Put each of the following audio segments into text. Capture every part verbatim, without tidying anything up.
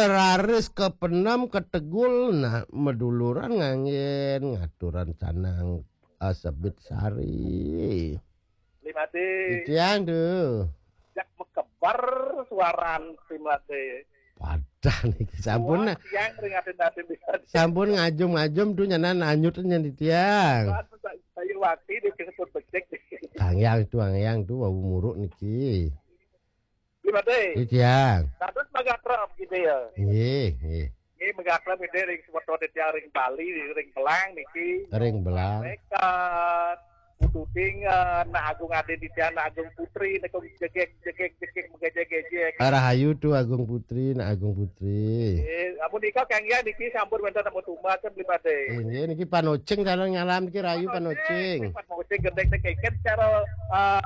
Raris kepenem ketegul, nah, meduluran nganggen ngaturan canang asebit sari. Limade. Titiang tuh. Jak mekebar suaran Limade. Padah niki sampun. Wah, tiang ring atin-atin di. Sampun ngajum-ngajum tuh nyanan anyut nyen titiang. Wah, sa-, saya wakti di kesebut becek. Kangyang tuh, kangyang tuh, wau muruk niki. Limade. Titiang. Dados magakrab gitu ya. Nggih, nggih. Nggih, magakrab gitu ring semeton titiang ring Bali, ring Belang niki. Ring Belang. Rekat. Pututing, eh, Nak Agung Ade Ditya, Nak Agung Putri, Nak Agung jegek, jegek, jegek, megejek-gejek. Rahayu tuh Agung Putri, Nak Agung Putri. Eh, amun nika kanggih niki sampun wénten nemu tumbas kan Limade. Inggih, niki panocing calon ngalam niki rahayu panocing. Panocing gendeng teh keken cara,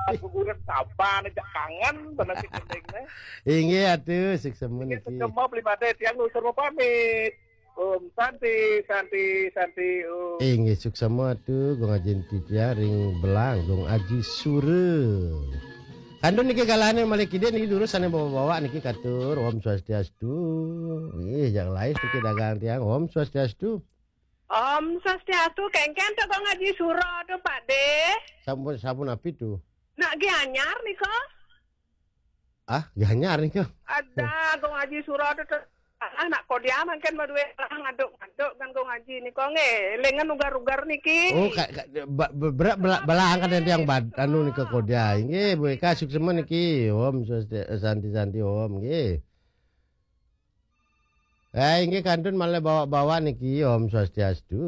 eh, guguran saban aja kangen bener si gendeng teh. Inggih atuh, suksema niki. Suksema Limade, tiang nutur pamit. Om Santi, Santi, Santi, Om. Inggih suksema tuh Gong Aji Titiang ring Belang, Gong Aji Sura. Kantun niki galahane malih kidin niki durus sane bawa-bawa niki katur. Om Swastiastu. Nggih, jak lais niki dagang tiang. Om Swastiastu. Om Swastiastu, kengken to Gong Aji Sura to, Pakde. Sampun, sampun api tuh? Nak Gianyar nika. Ah, Gianyar nika. Ada Gong Aji Sura to, to. Ah, nak kodia mangken madue ngaduk-ngaduk kan Gong Aji nika nggih. Elingan ugar-ugar niki. Oh, ka, ka, ba, ba, bela, bela, belang kan yang bad, anu nika kodia. Nggih, Bu Eka suksema niki. Om Swastiastu, Santi, Santi, Om nggih. Eh, inggih kantun malih bawa-bawa niki, Om Swastiastu.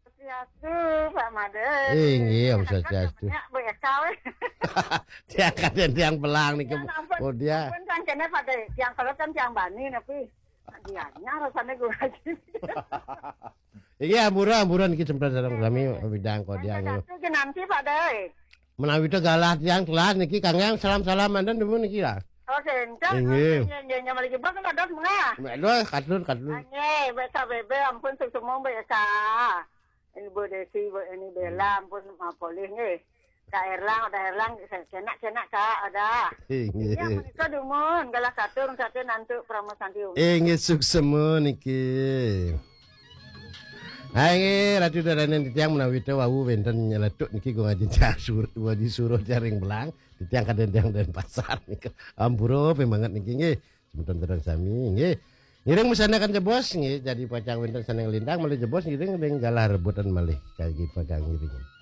Swastiastu, Pak Made. Inggih, Om Swastiastu. Ya, Bu Eka weh. Tiang kadén tiang Belang niki. Ya, ampun. Oh, dia. Ampun kan kene Pakde, tiang kelet kan tiang bani napi. Dianya rasane gue aja. Inggih, ampura, ampura niki sempat sareng sami widang kodia. Satu ki nanti Pakde. Menawi to galah tiang telas niki kangge salam-salam manten dumun niki lah. Oke, enggak. Inggih. Nggih, nggih, nggih, malih jebak kan dados mengah. Mbak Dul, katur, katur. Nggih, Mbak Sabebe, ampun suksema Mbak Eka. Ibu Desi, Bu ini Bella, ampun mapolih nggih. Kak Erlang, ada Erlang, kenak-kenak Kak, ada. Inggih. Ya, menika dumun, galah katur, sate nantuk Prama Santi Umi. Inggih, suksema niki. Hai, nggih, Ratu Daranen titiang menawi to wau wenten nyeletuk niki Gong Aji Sur, Gong Aji Sura jaring Belang, titiang kadén tiang Denpasar niki. Ampura pemanget niki nggih. Semeton sareng sami nggih. Ngiring mesanakan jebos nggih, jadi pacang wenten sane nglintang malih jebos ngiring ring galah rebutan malih kagi pagang ngiring.